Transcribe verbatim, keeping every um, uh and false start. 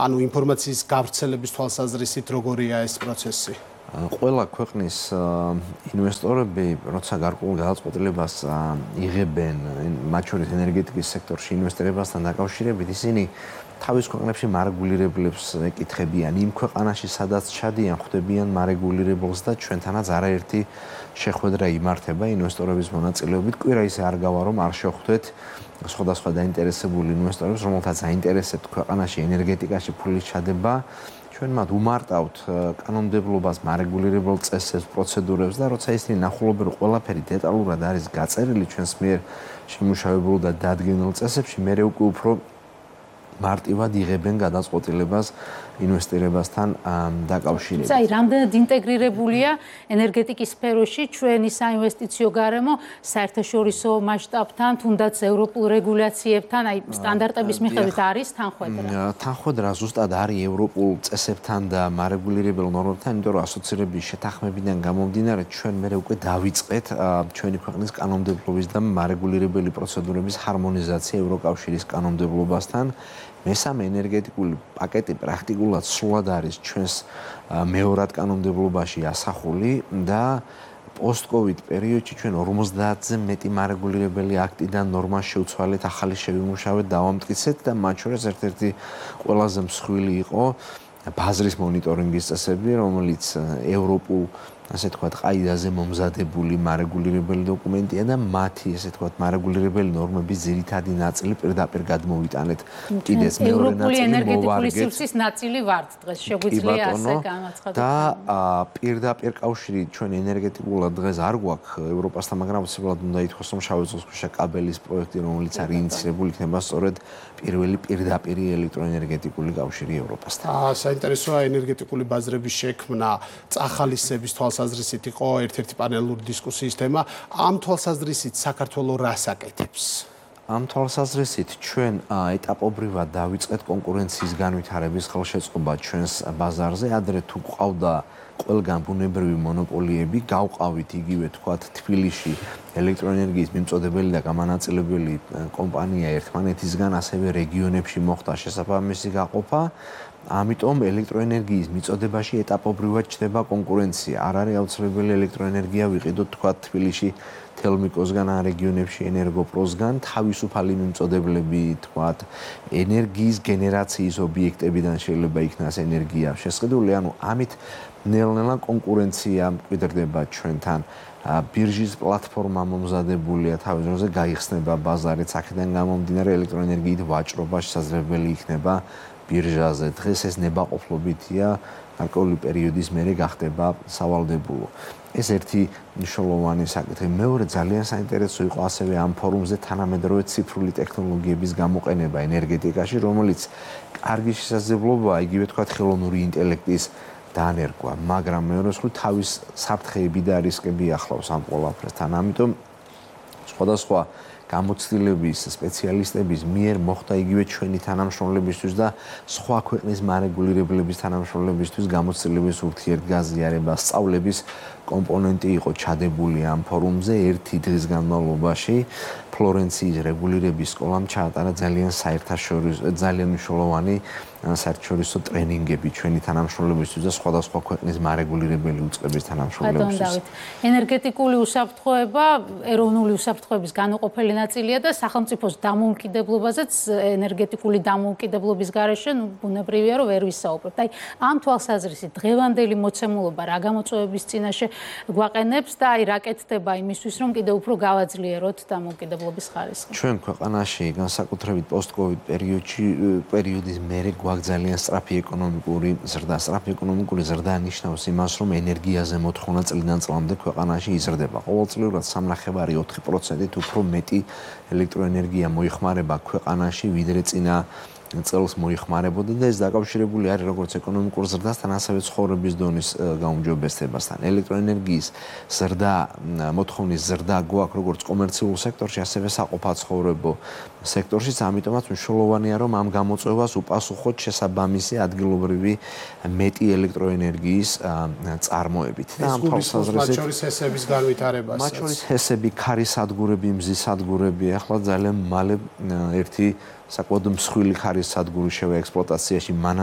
ანუ ინფორმაციის გავრცელების თვალსაზრისით როგორია ეს პროცესი? ყველა ქვეყნის ინვესტორები, როცა გარკვეულ გადაწყვეტილებას იღებენ, მათ შორის ენერგეტიკის სექტორში ინვესტირებასთან დაკავშირებით, ისინი თავის ქვეყნებში მარეგულირებლებს ეკითხებიან, იმ ქვეყანაში, სადაც ჩადიან, ხვდებიან მარეგულირებელს და ჩვენთანაც არაერთი შეხვედრა იმართება ინვესტორების მონაწილეობით. კვირა ისე არ გავა, რომ არ შეხვდეთ სხვადასხვა დაინტერესებული ინვესტორებს, რომელთაც აინტერესებთ ქვეყანაში ენერგეტიკაში ფულის ჩადება. ჩვენ მათ უმარტავთ კანონმდებლობას, მარეგულირებელ წესებს, პროცედურებს და როცა ისინი ნახულობენ, რომ ყველაფერი დეტალურად არის გაწერილი ჩვენს მიერ შემუშავებულ და დადგენილ წესებში, მერე უკვე უფრო მარტივად იღებენ გადაწყვეტილებას ინვესტირებასთან დაკავშირებით. აი, რამდენად ინტეგრირებულია ენერგეტიკის სფეროში ჩვენი საინვესტიციო გარემო საერთაშორისო მასშტაბთან, თუნდაც ევროპულ რეგულაციებთან, აი სტანდარტების მიხედვით არის თანხვედრა? თანხვედრა ზუსტად არის ევროპულ წესებთან და მარეგულირებელ ნორმებთან, იმიტომ რომ ასოცირების შეთანხმებიდან გამომდინარე, ჩვენ მერე უკვე დავიწყეთ ჩვენი ქვეყნის კანონმდებლობის და მარეგულირებელი პროცედურების ჰარმონიზაცია ევროკავშირის კანონმდებლობასთან. მესამე ენერგეტიკული პაკეტი პრაქტიკულად სრულად არის ჩვენს მეორად კანონმდებლობაში ასახული და პოსტ-კოვიდ პერიოდში ჩვენ ორმოცდაათზე მეტი მარეგულირებელი აქტი და ნორმა შევცვალეთ, ახალი შევიმუშავეთ, დავამტკიცეთ და მათ შორის ერთ-ერთი ყველაზე მსხვილი იყო ბაზრის მონიტორინგის წესები, რომელიც ევროპულ ასე თქვათ, ყაიდაზე მომზადებული მარეგულირებელი დოკუმენტია და მათი, ასე თქვათ, მარეგულირებელი ნორმების ძირითადი ნაწილი პირდაპირ გადმოვიტანეთ. კიდეც მეორე ნაწილი მოვარგეთ. ევროპული ენერგეტიკული სივრცის ნაწილი ვართ დღეს, შეგვიძლია ასე განაცხადოთ. და პირდაპირ კავშირი ჩვენ ენერგეტიკულად დღეს არ გვაქვს ევროპასთან, მაგრამ უცებრად უნდა ითქვას, რომ შავი ზღვისქვეშა კაბელის პროექტი, რომელიც არის ინიციირებული, იქნება სწორედ პირველი პირდაპირი ელექტროენერგეტიკული კავშირი ევროპასთან. საინტერესოა ენერგეტიკული ბაზრების შექმნა, წახალისების თვალსაზრისით იყო ერთ-ერთი პანელური დისკუსიის თემა. ამ თვალსაზრისით საქართველო რას აკეთებს? ამ თვალსაზრისით ჩვენ ეტაპობრივად დავიწყეთ კონკურენციის განვითარების ხელშეწყობა ჩვენს ბაზარზე. ადრე თუ გვყავდა ყველგან ბუნებრივი მონოპოლიები, გავყავით იგივე თქვათ თბილისში ელექტროენერგიის მიმწოდებელი და გამანაწილებელი კომპანია ერთმანეთისგან, ასევე რეგიონებში მოხდა შესაბამისი გაყოფა. ამიტომ ელექტროენერგიის მიწოდებაში ეტაპობრივად ჩნდება კონკურენცია. არ არის აუცილებელი ელექტროენერგია ვიყიდოთ თქვათ თბილისში თელმიკოსგან ან რეგიონებში ენერგოპროსგან, თავისუფალი მიმწოდებლები თქვათ ენერგიის გენერაციის ობიექტებიდან შეიძლება იქნას ენერგია შესყიდული, ანუ ამით ნელ-ნელა კონკურენცია მკვიდრდება ჩვენთან. ბირჟის პლატფორმა მომზადებულია თავის დროზე, გაიხსნება ბაზარით, აქედან გამომდინარე ელექტროენერგიით ვაჭრობა შესაძლებელი იქნება ბირჟაზე. დღეს ეს ნებაყოფლობითია, გარკვეული პერიოდის მერე გახდება სავალდებულო. ეს ერთი მნიშვნელოვანი საკითხი. მეორე ძალიან საინტერესო იყო ასევე ამ ფორუმზე თანამედროვე ციფრული ტექნოლოგიების გამოყენება ენერგეტიკაში, რომელიც კარგი შესაძლებლობაა, იგივე თქვათ ხელოვნური ინტელექტის დანერგვა, მაგრამ მეორე მხრივ თავის საფრთხეები და რისკები ახლავს ამ ყველაფერთან. ამიტომ სხვადასხვა გამოცდილების სპეციალისტების მიერ მოხდა იგივე ჩვენი თანამშრომლებისთვის და სხვა ქვეყნის მარეგულირებლების თანამშრომლებისთვის გამოცდილების ურთიერთგაზიარება, სწავლების კომპონენტი იყო ჩადებული ამ ფორუმზე. ერთი დღის განმავლობაში ფლორენციის რეგულირების სკოლამ ჩაატარა ძალიან საერთაშორისო, ძალიან მნიშვნელოვანი საერთაშორისო ტრენინგები ჩვენი თანამშრომლებისთვის და სხვადასხვა ქვეყნის მარეგულირებელი უწყების თანამშრომლებისთვის. ენერგეტიკული უსაფრთხოება ეროვნული უსაფრთხოების განუყოფელი ნაწილია და სახელმწიფოს დამოუკიდებლობაზეც ენერგეტიკული დამოუკიდებლობის გარეშე ბუნებრივია რომ ვერ ვისაუბრებთ. აი ამ თვალსაზრისით დღევანდელი მოცემულობა რა გამოწვევების წინაშე გვაყენებს და აი რა კეთდება იმისთვის რომ კიდევ უფრო გავაძლიეროთ დამოუკიდებლობის ხარისხი. ჩვენ ქვეყანაში განსაკუთრებით პოსტ-კოვიდ პერიოდში პერიოდის მერე გვაქვს ძალიან სწრაფი ეკონომიკური ზრდა. სწრაფი ეკონომიკური ზრდა ნიშნავს იმას, რომ ენერგიაზე მოთხოვნა წლიდან წლამდე ქვეყანაში იზრდება. ყოველწლიურად სამნახევარი ოთხი პროცენტით უფრო მეტი ელექტროენერგია მოიხმარება ქვეყანაში, ვიდრე წინა წელს მოიხმარებოდა და ეს დაკავშირებული არის როგორც ეკონომიკურ ზრდასთან, ასევე ცხოვრების დონის გაუმჯობესებასთან. ელექტროენერგიის ზრდა, მოთხოვნის ზრდა გვაქვს როგორც კომერციულ სექტორში, ასევე საყოფაცხოვრებო სექტორშიც, ამიტომაც მნიშვნელოვანია, რომ ამ გამოწვევას უპასუხოთ შესაბამისი ადგილობრივი მეტი ელექტროენერგიის წარმოებით. და ამ თვალსაზრისით მათ შორის ჰესების განვითარებას. მათ შორის ჰესები, ქარის სადგურები, მზის სადგურები, ახლა ძალიან მალე ერთი საკმაოდ მსხვილი ქარის სადგური შევა ექსპლუატაციაში, მანამ